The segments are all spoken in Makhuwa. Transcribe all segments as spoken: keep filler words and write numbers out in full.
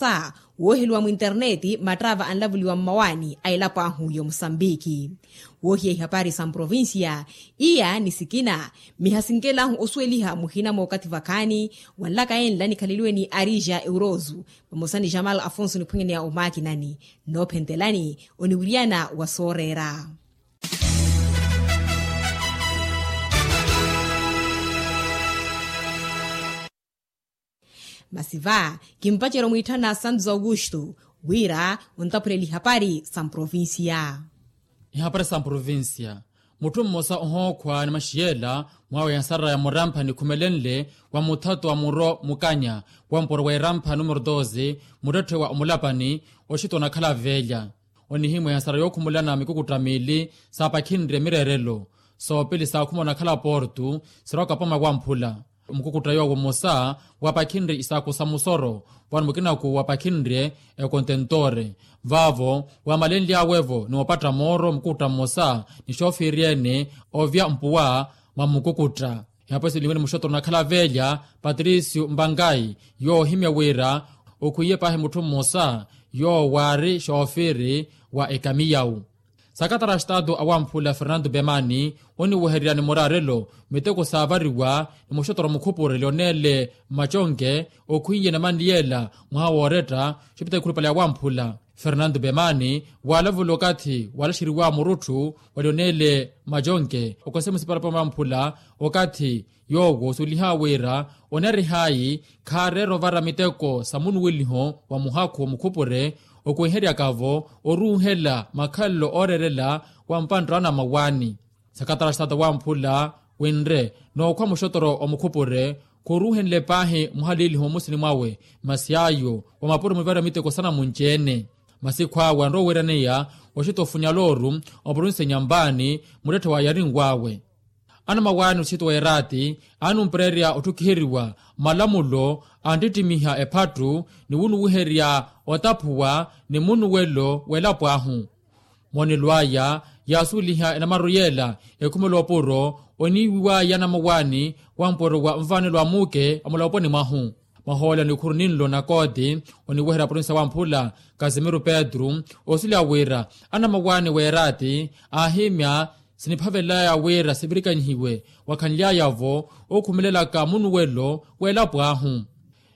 Sa wooheliwa mwinterneeti mattaava anlavuliwa mmawaani a elapo ahu y'omusambiki. Woohiya ihapari sa mprovincia iya ni sikina mihasinkelahu osuweliha muhina mookathi vakhaani. Wanlaka enla nikhaleliwe ni arija euroso vamosa ni jamal afonso niphwenyeneya omaakinani. Noophentelani oniwiriyana wa sooreera. Masi va kimpacerya omwiitthana santos augusto wira ontapurela ihapari sa mprovincia. Ihapari sa mprovincia. Mutthu mmosa ohookhwa ni maxiyela mwawe yasaraya murampha nikhumelenle wa muthato wa muro mukanya wa mpuro wa irampha numero doze muttetthe wa omulapani oxitwa onakhala veelya. Onihimwa ehasara yookhumulana mikukutta miili saapakhinrye mireerelo soopili saakhuma onakhala portu sirwaka poma wamphula. Mukukutta yoowo mmosa waapakhinrye isaakhu sa musoro wani mukinaku waapakhinrye ekontentore vaavo waamalenly'awe-vo ni opatta mooro mukukutta mmosa ni xoofiiri ene ovya mpuwa mwa mukukutta. Ihapo esilinwe ni muxottoro onakhala veelya patricio mbangayi yoohimya wira okhwiye paahi mutthu mmosa yoowo waari xoofiri wa ekamiyawu. Sakatara a xitaatu awamphula fernando bemani oniwehererya ni muraarelo miteko saavariwa ni muxottoro mukhupureli oneele mmaconke okhwiye ni maniyela mwaha wooretta xopita ikhulupale awamphula. Fernando bemani waalavula okathi waalaxeriwa murutthu wali oneele majonke okonse musipala pamamphula okathi yoowo suuliha wira onarihayi khaareera ovara miteko sa munuweliho wa muhakhu omukhupure okuweheryaka-vo oruuhela makhalelo ooreerela wa mpantta anamawaani. Sakatara xitaata wamphula winre nookhwa muxotoro omukhupure khuruuhenle paahi muhaliiliho mmusini mwawe masi ayo wa mapuro muvara miteko sanamunci-ene. Masi khwaawe anrowa oweeraneya oxitofunya looru oprovinsi nyambaani muttetthe wa yarinw'awe. Anamawaani oxitowa eraati anumpererya otthukiheriwa malamulo anttittimiha ephattu ni wunuwiherya otaphuwa ni munuwelo w'elapo ahu. Moonelo aya yaasuweliha enamaru yeela ekhumela opuro oniiwiw'aya anamawaani wa mpuro wa nvaanelo a muuke omuloponi mwahu. Mwahoolelo nikhuru ninlo na kooti oniweherya provinsi ya wamphula kasimiro petru osuleya wira anamawaani w'eraati aahimya siniphavelelaya wira sivirikanyihiwe wakhanly'aya-vo okhumelelaka munuwelo w'elapo ahu.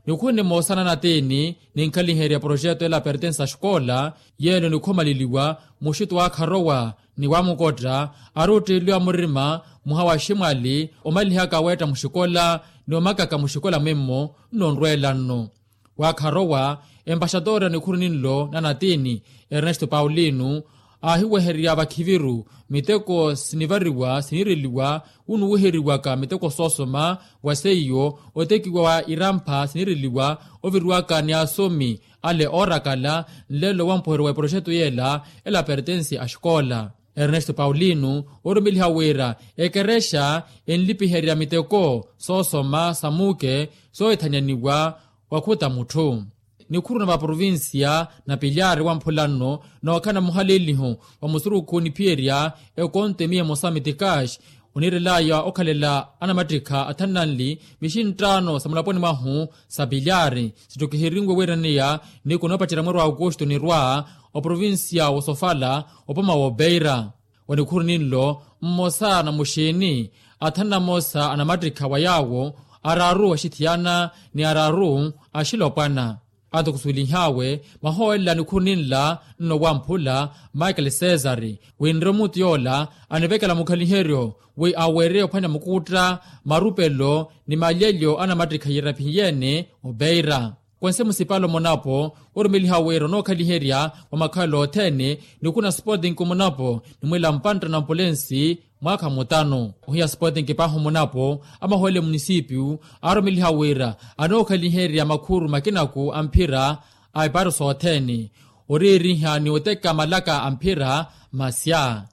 Nikhunne moosana na tiini ninkhaliherya proxeto ela pertense a xikola yeelo nikhomaleliwa muxito wa akharowa ni wamukotta ari otteeliwa murima muha wa ximwali omalihaka weetta muxikola ni omakaka muxikola mwimmo nnonrweela nno. Wa akharowa empaxatoori a nikhuru ninlo na natiini ernesto paulino aahiwehererya vakhiviru miteko sinivariwa sinireliwa wunuwiheriwaka miteko soosoma wa seiyo otekiwa wa irampha sinireliwa oviriwaka ni asomi ale oorakala nlelo wampuheryo wa eproxeto yeela ela pertense a xikola. Ernesto paulino orumeliha wira ekerexa enlipiherya miteko soosoma sa muuke soohithanyaniwa wakhuta mutthu. Nikhuru na vaprovincia na pilyari wamphula nno nookhala muhaleeliho wa musurukhu niphiyerya ekonto emiya emosa mitikaxi oniirelaya okhalela anamattikha athananli mixinttaano sa mulaponi mwahu sa pilyari sittokihirinwe wiiraneya niku noopacerya mweeri wa aukusto nirwa oprovincia wosofala opoma woopeira. Wa nikhuru ninlo mmosa na muxiini athanu na moosa anamattikha wa yaawo araaru axithiyana ni araaru axilopwana. Anto khusuwelih'awe mahoolela nikhuru ninla nno wamphula michael cesar winre omuti yoola anivekela mukhaliheryo wi aweereye ophwanya mukuutta marupelo ni malyelyo anamattikha yiraphi yeene opeira. Khwense musipala omonapo orumeliha wira onookhaliherya wa makhalelo othene nikhuna sporting omonapo nimwiila mpantta na mpulensi mwaakha mutano ohiya sporting paahi omonapo amahoole munisipiyu aarumeliha wira anookhaliherya makhuru makinaku a mphira a epaari sothene oriiriha ni oteka malaka a mphira masya.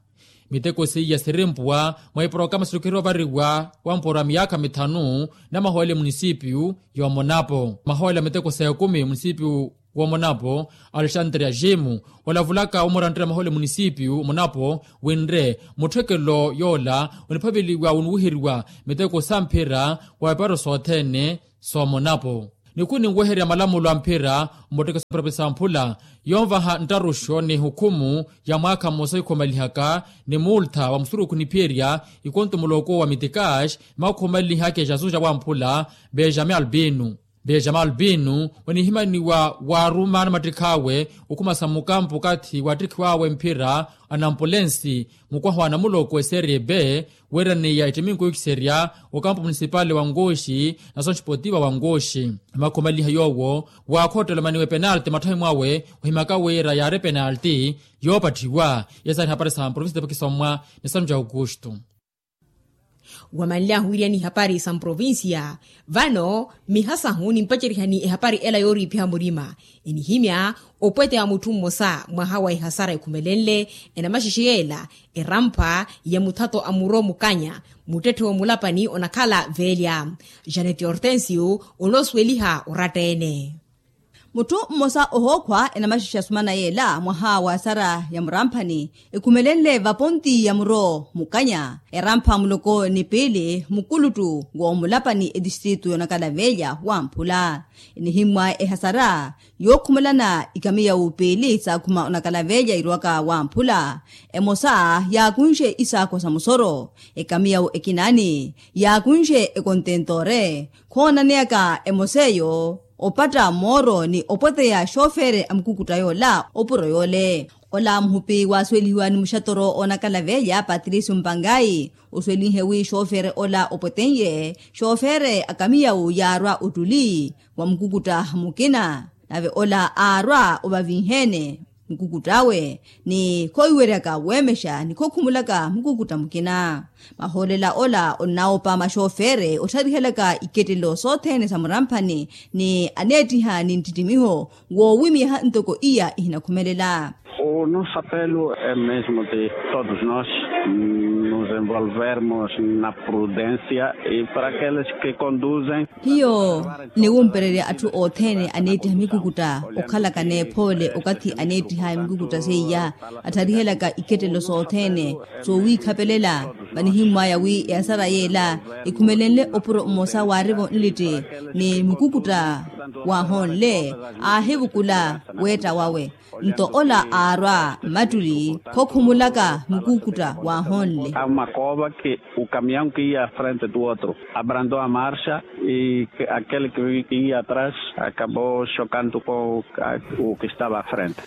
Miteko seiya sirimpuwa mwa iporokarama sittukeriwa ovariwa wa mpuro a miyaakha mithanu namahoole munisipiyu y'omonapo mahoole a miteko s'ekumi munisipiyu w'omonapo alexandria jimo olavulaka omurantira mahoole munisipiyu omonapo winre mutthekelo yoola oniphaveliwa wonuwiheriwa miteko sa mphira wa eparo sothene s'omonapo. Nikhu ninweherya malamulo a mphira mmottekesa provinsi ya mphula, yonvaha nttaruxo ni hukhumu ya mwaakha mmosa ikhomalihaka ni multha wa musurukhu niphiyerya ikonto muloko wa mitikax, ni makhomalihaka exasu ja wamphula benjamin albino. Benjamin albino onihimaniwa waaruma anamattikhawe okhumasa mukampu okathi wattikhiwawe mphira anampulensi mukwaha wa namuloko eserie b, weeraniya ettiminku yookiserya okampu munisipali wa nkoxi na sonxipotiva wa nkoxi. Makhomaliha yoowo waakhottela omaniwa epenalti matthahi mwawe ohimaka wira yaari epenalti yoopatthiwa. Yesari hapari sa mprovinsi tepakisommwa ni sanu ja aukustu. Wamanly'ahu wiryani ihapari sa mprovincia. Vano mihasahu nimpacerihani ehapari ela yooriipiha murima enihimya opwete wa mutthu mmosa mwaha wa ehasara ekhumelenle enamaxexe yeela erampha ya muthato a muro mukanya muttetthe wa mulapani onakhala veelya. Janeti hortensio onoosuweliha oratta-ene. Mutthu mmosa ohookhwa enamaxexe asumana yeela mwaha wa esara ya muramphani ekhumelenle vaponti ya muro mukanya erampha muloko ni piili mukuluttu w'omulapani etistritu y'onakalaveelya wamphula. Enihimmwa ehasara yookhumelana ikamiya wupiili saakhuma onakalaveelya irwaka wamphula. Emosa yaakunxe isaakho sa musoro ekamiya wu ekinaani yaakunxe ekontentoore khoonaneyaka emosa eyo opatta mooro ni opweteya xoofere a mukukutta yoola opuro yoole. Ola muhupi waasuwelihiwa ni muxatoro oonakalaveelya patricio mpangayi osuwelihe wi xoofere ola opweten'ye xoofere akamiyawu yaarwa ottuli wa mukukutta mukina nave ola aarwa ovavinheene mukukutt'awe ni khoowiweryaka weemexa ni khookhumulaka mukukutt'a mukina. Mahoolela ola onnawopa maxoofere ottharihelaka ikettelo sothene sa muramphani ni aneettiha ni nttittimiho woowimyaha ntoko iya ihinakhumelela. O nosso apelo é mesmo de todos nós nos envolvermos na prudência e para aqueles que conduzem. Hiyo niwumpererya atthu othene aneettiha mikukutta okhalaka neephoole okathi aneettiha mikukutta seiya attharihelaka ikettelo sothene soowiikhapelela. Vanihimmwaya wi ehasara yeela ekhumelenle opuro mmosa waarivo nlitti ni mukukutta waahonle aahivukula weetta wawe nto ola aarwa mmattuli khookhumulaka mukukutta waahonle. Ao makoopa ke o caminhão que ia à frente do outro abrandou a marcha e aquele que ia atrás acabou chocando com o que estava à frente.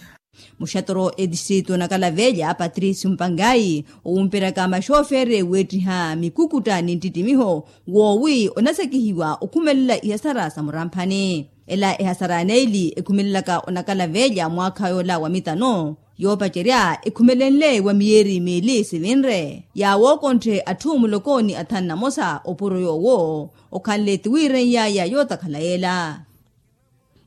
Muxatoro etistritu onakalaveelya patricio mpangayi owumperyaka maxoofere weettiha mikukutta ni nttittimiho woowi onasekihiwa okhumelela ihasara sa muramphani. Ela ehasara ya neeli ekhumelelaka onakalaveelya mwaakha yoola wa mitano yoopacerya ekhumelenle wa miyeeri miili sivinre yaawookontthe atthu muloko ni athanu na mosa opuro yoowo okhanle tiwiireny'aya yootakhala yeela.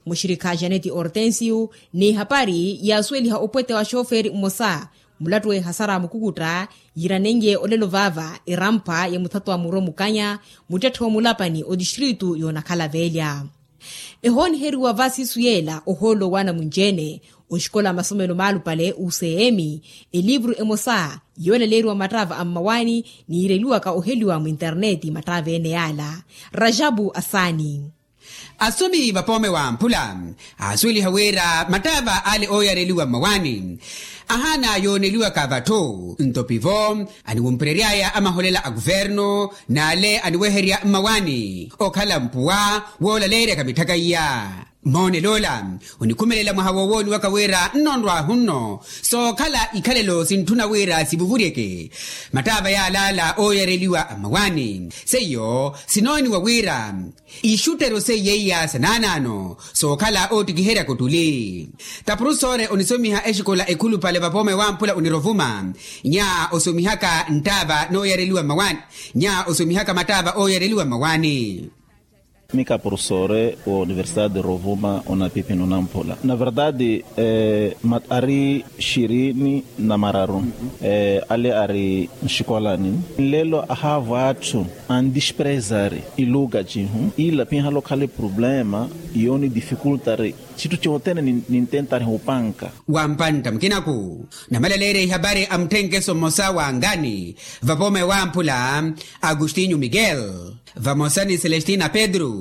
Muxirikha janeti hortensio n'ihapari yaasuweliha opwete wa xooferi mmosa mulattu w'ehasara mukukutta yiiranen'ye olelo vaava erampha ya muthato wa muro mukanya muttetthe wa mulapani otistritu y'onakhala veelya. Ehooniheriwa va siisu yeela ohoolo waana munci-ene oxikola masomelo maalupale ucm elivru emosa yoolaleeriwa mattaava a mmawaani niireliwaka oheliwa mwinterneeti mattaava-ene yaala. Rajabu asaani. Asomi vapoome wa mphula aasuweliha wira mattaava ale ooyareliwa mmawaani ahaana yooneliwaka vatthu nto pivo aniwumperery'aya amaholela a kuvernu n'ale aniweherya mmawaani okhala mpuwa woolaleeryaka mitthaka iya. Mmoonel'ola onikhumelela mwaha woowooniwaka wira nnonrwahu nno sookhala ikhalelo sintthuna wira sivuvuryeke mattaava y'alaala ooyareliwa a mmawaani seiyo sinooniwa wira ixuttero seiya iya sa naanaano sookhala oottikiheryaka ottuli. Tapurusoore onisomiha exikola ekhulupale vapoome wamphula onirovuma nya osomihaka nttaava nooyareliwa mmawaani nya osomihaka mattaava ooyareliwa mmawaani. Mika purusoore wa universidade de rovuma onapipi nonamphula na verdade ari xirini na mararu ale ari nxikolani nlelo ahaavo atthu andisprezari iluga cihu ila pihala okhala eproblema yoonidifikultari. Citthu cothene nintentari hupanka. Wampantta mukinaku namalaleerya ihapari a mutthenkeso mmosa wa ngani vapoome wamphula agustinho miguel vamosa ni celestina pedro.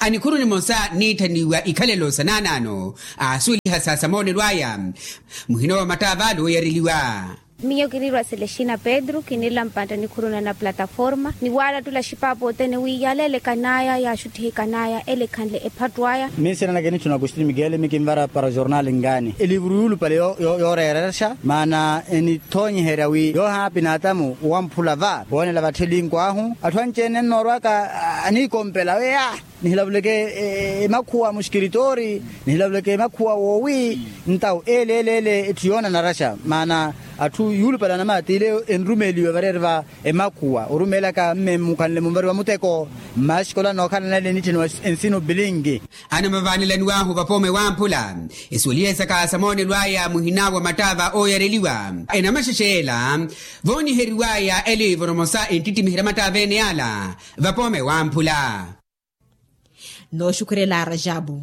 Anikhuru nimosa niitthaniwa ikhalelo sa naanaano aasuweliha sa samoonelo aya. Muhina wa mattaavalo oyareliwa. Miyo kiriirwa selestina pedro kinirela mpantta nikhuru na na plataforma ni waalattula xipaapo othene wi yaaleelekan'aya yaaxuttihekan'aya ele ekhanle ephattu aya. Minsina nake nitthuna akustin miguel mikinvara para jornal ngani elivuru yuulupale yooreerexa maana enithoonyiherya wi yoohaapi n'atamu wamphula va woonela vatthelinku ahu atthu anci-ene nnoorwaka aniikompela wi ah nihilavuleke emakhuwa muxikiritoori nihilavuleke emakhuwa woowi ntawu ele ele ele etthu yoonanaraxa maana atthu yuulupale anamaati ile enrumeeliwe vareeri va emakhuwa orumeelaka mme mukhanle munvariwa muteko mmaxikola nookhalana ele nittheniwa ensino bilingi. Anamavaanelaniwahu vapoome wamphula esuweliye saka samoonelo aya muhina wa mattaava ooyareliwa enamaxexe ela vooniheriwaya eliivoro mosa enttittimihira mattaava ene yaala vapoome wamphula. Nooxukhurela rajabu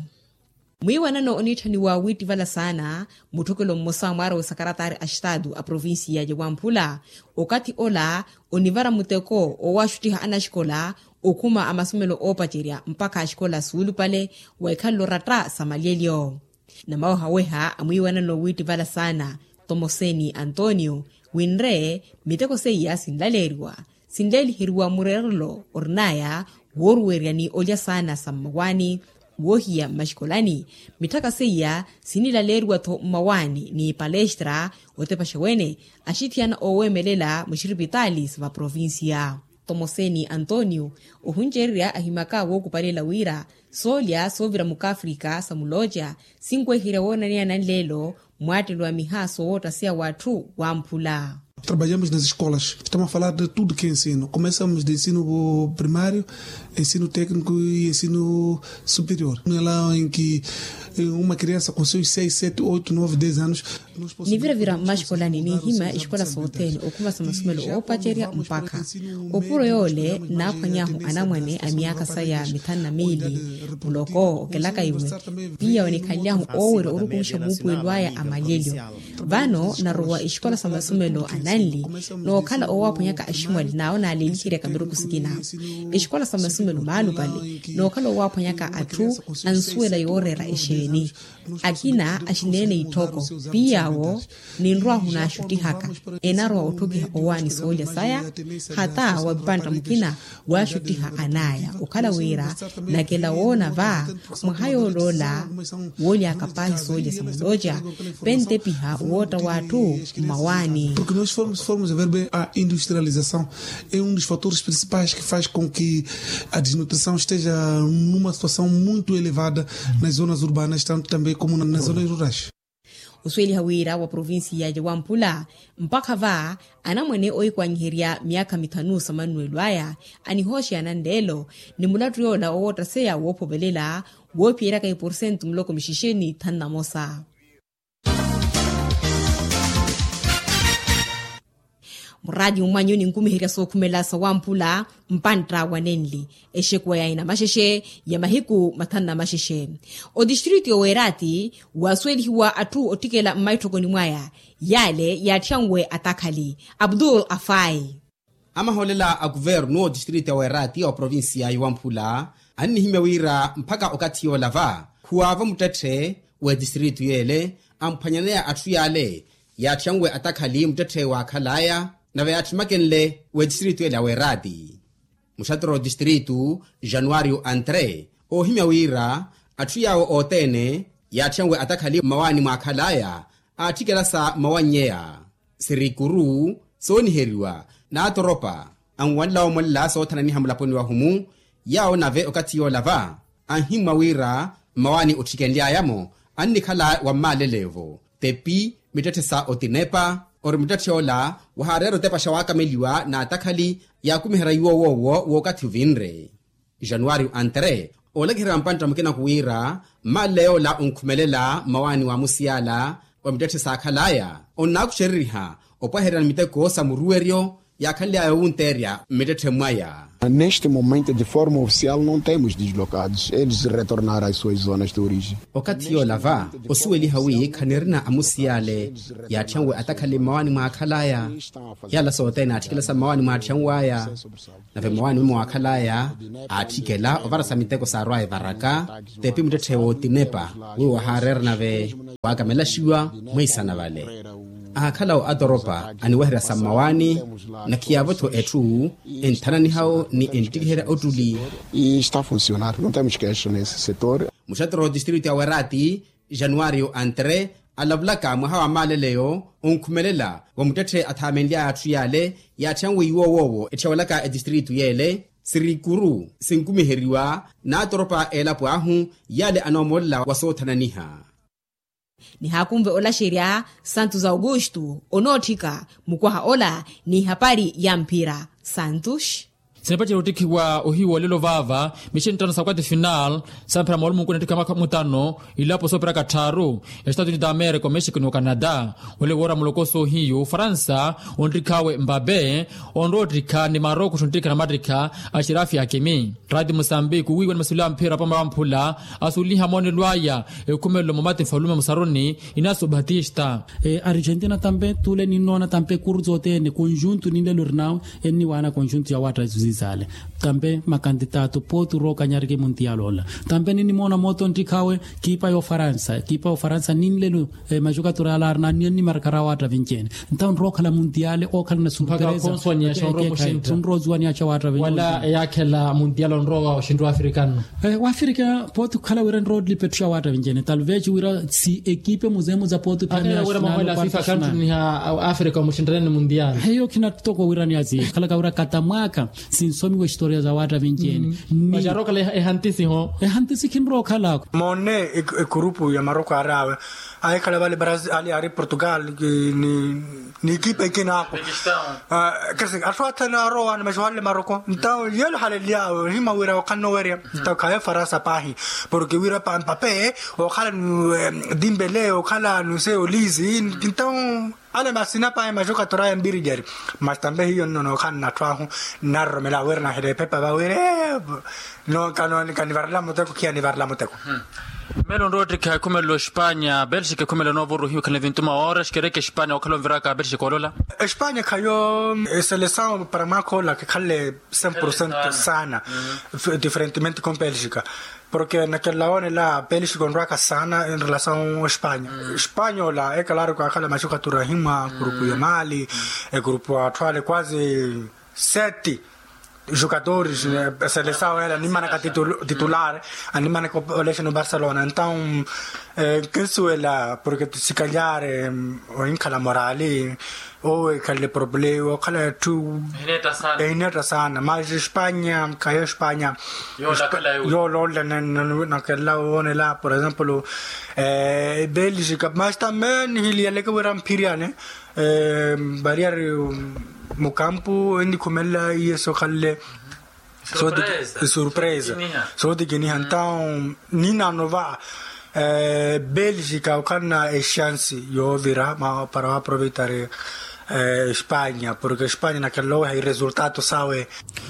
mwiiwanano oniitthaniwa wiittivala saana mutthokelo mmosa mwaara wa sakaratari a xitaatu a provincia ya wamphula okathi ola onivara muteko owaaxuttiha anaxikola okhuma a masomelo oopacerya mpakha axikola suulupale wa ikhalelo oratta sa malyelyo. Namawehaweha a mwiiwanano wiittivala saana tomoseni antonio winre miteko seiya sinlaleeriwa sinleeliheriwa mureerelo orin'aya wooruwerya ni olya saana sa mmawaani woohiya mmaxikolani mitthaka seiya sinilaleeriwa-tho mmawaani ni palestra otepaxa wene axithiyana ooweemelela muxiripitaali sa vaprovincia. Tomoseni antonio ohuncererya ahimaka wookupalela wira soolya soovira mukafrika sa mulooca sinweherya woonaneyana anleelo mwaattelo wa miha sowoottaseya w'atthu wamphula. Trabalhamos nas escolas estamos a falar de tudo que é ensino começamos de ensino primário ensino técnico e ensino superior no ela em que uma criança com seus seis sete oito nove dez anos. Niviravira mmaxikolani niihimya exikola sothene okhuma sa masomelo oopacerya mpakha opuro yoole naaphwanyahu anamwane a myaakha saya mithanu na miili. Muloko okelaka iwe piya onikhanlyahu oowerya orukumixa muupuwelo aya a malyelyo. Vano narowa exikola sa masomelo ananli nookhala owaaphwanyaka aximwali n'awo naaleeliheryaka miruku sikina exikola sa masomelo maalupale nookhala owaaphwanyaka atthu ansuwela yooreera exeeni. Akina axineene itthoko piiy'awo ninrw'ahu naaxuttihaka enarowa otthokiha owaani soolya saya hata wa mpantta mukina waaxuttiha an'aya okhala wira nakela woona va mwaha yool'ola wooly'aka paahi soolya sa mulooca pentepiha wootta w'atthu mmawaani. Porque nós formos a ver bem a industrialização é um dos fatores principais que faz com que a desnutrição esteja numa situação muito elevada nas zonas urbanas tanto também como nas zonas rurais. Osuweliha wira wa provincia ya wamphula mpakha va anamwane oikwanyiherya myaakha mithanu sa mannuwelo aya anihooxeya nanleelo ni mulattu yoola owoottaseya woophovelela woophiyeryaka iporsentu muloko mixixeni thanu na mosa. Muraati mumwanyu ninkumiherya sookhumela sa wamphula mpantta wa nenli exekuwa ya inamaxexe ya mahiku mathanu na maxexe. Otistritu yoweeraati waasuwelihiwa atthu otthikela mmaitthokoni mwaya yaale yaatthiyanwe atakhali abdul afai. Amahoolela a kuvernu otistritu ya weeraati oprovinsiya ya wamphula annihimya wira mpakha okathi yoola va khuwaavo muttetthe w'etistritu yeele amphwanyaneya atthu yaale yaatthyanwe atakhali muttetthe waakhal'aya nave yaatthimmakenle w'etistritu yeele ya weeraati. Muxattoro otistritu januwaariyo antre oohimya wira atthu yaawo othene yaatthyanwe atakhali mmawaani mwaakhal'aya aatthikela sa mmawannyeya sirikuru sooniheriwa n'atoropa anwanla omolela soothananiha mulaponi wahumu. Yaawo nave okathi yoola va anhimmwa wira mmawaani otthikenly'aya-mo annikhala wa mmaaleleevo tepi mittetthe sa otinepa ori muttetthe ola wahaareera otepaxa waakameliwa n'atakhali yaakumiherya iwo woowo w'okathi ovinre. Januwaariyo antre oolakiherya mpantta mukina khuwira mmaaleya ola onkhumelela mmawaani wa musiyala wa mittetthe saakhal'aya onnaakuxereriha opwahererya ni miteko sa muruweryo yaakhanly'aya owunteerya mmittetthe mwaya. Neste momento de forma ofisial não temos deslocados, eles retornaram as suas zonas de origem. Okathi yoola va osuweliha wi khanirina amusiyale yaatthyanwe atakhale mmawaani mwaakhalaya. Yala sothene aatthikela sa mmawaani mwaatthyanwaya. Nave mmawaani mwaakhalaya aatthikela ovarasa miteko saarwaya evaraka. Tepi muttetthe wootinepa wi wahaareera nave waakamelaxiwa mwiisana vale. Ahakhalawo atoropa aniweherya sa mmawaani. Nakhiyaavo-tho etthu enthananihawo ni enttikiherya ottuli. Está funcionar não temos queixa nesse setor. Muxattoro wa tistritu ya werati januwario antre alavulaka mwaha wa maaleleyo onkhumelela wa muttetthe athaamenly'aya atthu yaale yaatthanwiiwa owoowo etthiyawelaka etistritu yeele sirikuru sinkumiheriwa n'atoropa a elapo ahu yaale anoomoolela wa soothananiha. Nihaakunve olaxerya santos augusto onootthika mukwaha ola n'ihapari ya mphira santos. Sinepacerya ottikhiwa ohiyu olelo vaava mixini tthano sa kwati final samphira moolumunku nittikha mwakha mutano ilapo soopiraka tthaaru ya estados unidos da america omexico ni ocanada. Ole woora mulokoso ohiyu ofaransa onttikhawe mbabe onroottikha ni maroko onttikha na mattikha a xirafi akimi. Rati musambiki owiiwa ni masilu a mphira apama wamphula asuliha moonelo aya ekhumelelo mumati nfalume musaruni inaso batista. Argentina tampe tule ninnoona tampe kurutsi othene konjuntu ninlelo rinawe enniwaana konjuntu ya watta zizale. Tampe makantitato potu rookanyariki muntiyalo ola tampe ninnimoona mooto nttikhawe kiipa y'ofaransa kiipa y'ofaransa ninlelo. Maxukatura yala arina anniya nnimarakara waatta vinci-ene. Ntawo nrookhala muntiyale ookhala na surpresa. Nroosiwaniyaxa waatta vinci-ene wala eyaakhela muntiyale onrowa oxintti w'afrika nno. W'afrika pooti okhala wira nroolipa etthu ya waatta vinci-ene talvez wira si ekipe muzeemu za pooti ophiyana wira mahoela fifa kantthuniha. Afrika omuxinttane ni muntiyale heyo khina toko wira niyazi khalaka wira katamwaka sinsomiwa historia za waatta vinci-ene. Ni macarookhala ehantisi ho ehantisi khinrookhalako. Moone ekurupu ya maroko ari awe ahikhala vale brazil ali ari portugal ni ekipa ikina ako. Kasi atthu athene arowa ni maxuhalele maroko ntawo yeelo halelyawe ohima wira okhanna owerya ntawo khaye faransa paahi. Porke wira pampape okhala ni dimbele okhala nuse olizi ntawo ale masina paahi maxukatura ya mbirijari. Mas tambe hiyo nno nookhala nnatthu ahu nnaroromela wira nahela ephepa vawire. No kanivarela muteko khiya nivarela muteko. Mmelo nroottikha ekhumelelo espanya belgica ekhumelelo noovoro ohiyu khana vintu maora xikereke espanya okhala onviraka belgica olola. Espanya khayo eselesawo para mwaakha ola khikhalle cem por cento sana diferentemente com belgica. Porke nakelela woonela belgica onrwaka sana enrelasawo espanya. Espanya ola ekalaari kwaakhala maxukatura himwa kurupu ya maali ekurupu atthu ale kwazi sete jugadores selesawo ele animanaka titular animanaka olexeno barcelona entaw. Nkinsuwela porke tisikalyaare ohinkhala morali owo ekhalele problema okhala etthu ehineetta sana mas espanya khayo espanya. Yoolola woonela por exemplo belgica mas tambe nihiliyaleke wira mphiriyane. Variar mukampu enikhumelela iye sokhalle surpresa. Sootikiniha ntawo ninano va belgica okhalana exansi yoovira para waaproveitari espanya porke espanya nakhalala oweha iresultato sawe.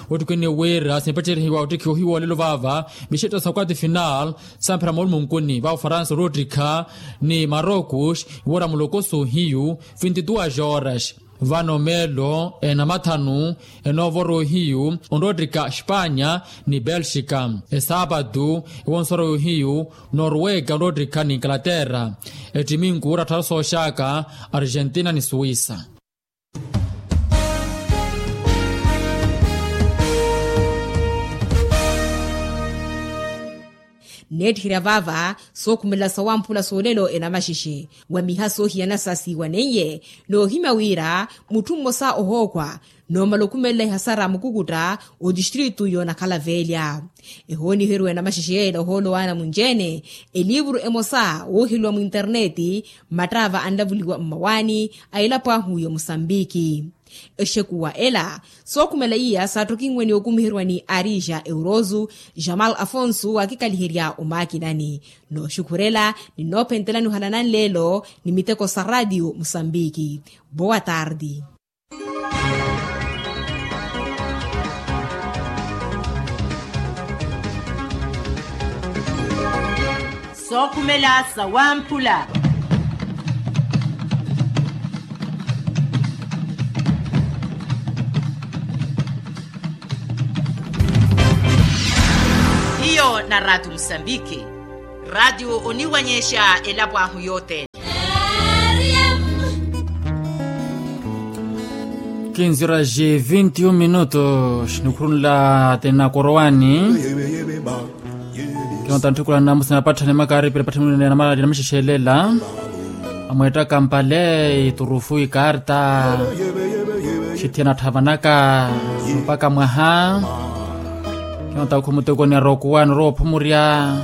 Ottikhwene wira simpacerihiwa ottikhiwa ohiwoolelo vaava mixetta sa kwati final samphira moolumunkuni va ofaransa oroottikha ni marocos iwora mulokoso ohiyu vinti duas horas. Vano meelo enamathanu enoovora ohiyu onroottikha espanya ni belgica. Esaapatu ewonsora yohiyu norwega onroottikha ni ingalaterra. Ettiminku orattharu sooxaka argentina ni suwisa. Nneettiherya vaava sookhumelela sawamphula soolelo enamaxexe wa miha soohiyana sa siiwaneiye noohimya wira mutthu mmosa ohookhwa noomala okhumelela ehasara mukukutta otistritu yoonakhala veelya. Ehooniheriwa enamaxexe yeela ohoolo waana munci-ene eliivuru emosa wooheliwa mwinternetti mmattaava anlavuliwa mmawaani a elapo ahu ya musambiki. Exekuwa ela sookhumela iya saattokinwe ni okumiheriwa ni arija eurozu jamal afonso waakikaliherya omaakinani. Nooxukhurela ni noophentelani ohalana nleelo ni miteko sa raatiyo musambiki. Boa tardi. Sookhumela sawamphula. Hiyo na raatio musambiki. Raatio oniwanyexa elapo ahu yothene. Kinzira ji vinti un minutos nikhurunla tena korowani. Kinota ntthikula namusi napatthani makaari pira patthani namala namixexelela. Amweetta kampale iturufu ikarta. Xithiyana tthavanaka mpaka mwaha. Kinota khumuteko ni arokuwani oroophumurya.